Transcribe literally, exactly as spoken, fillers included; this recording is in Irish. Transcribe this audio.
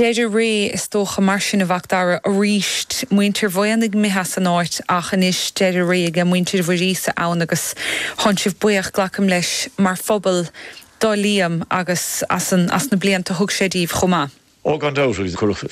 Deireadh ré is dócha mar sin a Mhac Dara arís muintir Mhaigh Éanaigh imithe as an áit ach anois deireadh ré ag muintir Mhuiríosa ann agus tá sibh buíoch glacaim leis mar phobal do Liam agus as, an, as na blianta thug sé díobh chomh maith. Ó gan dabht chuir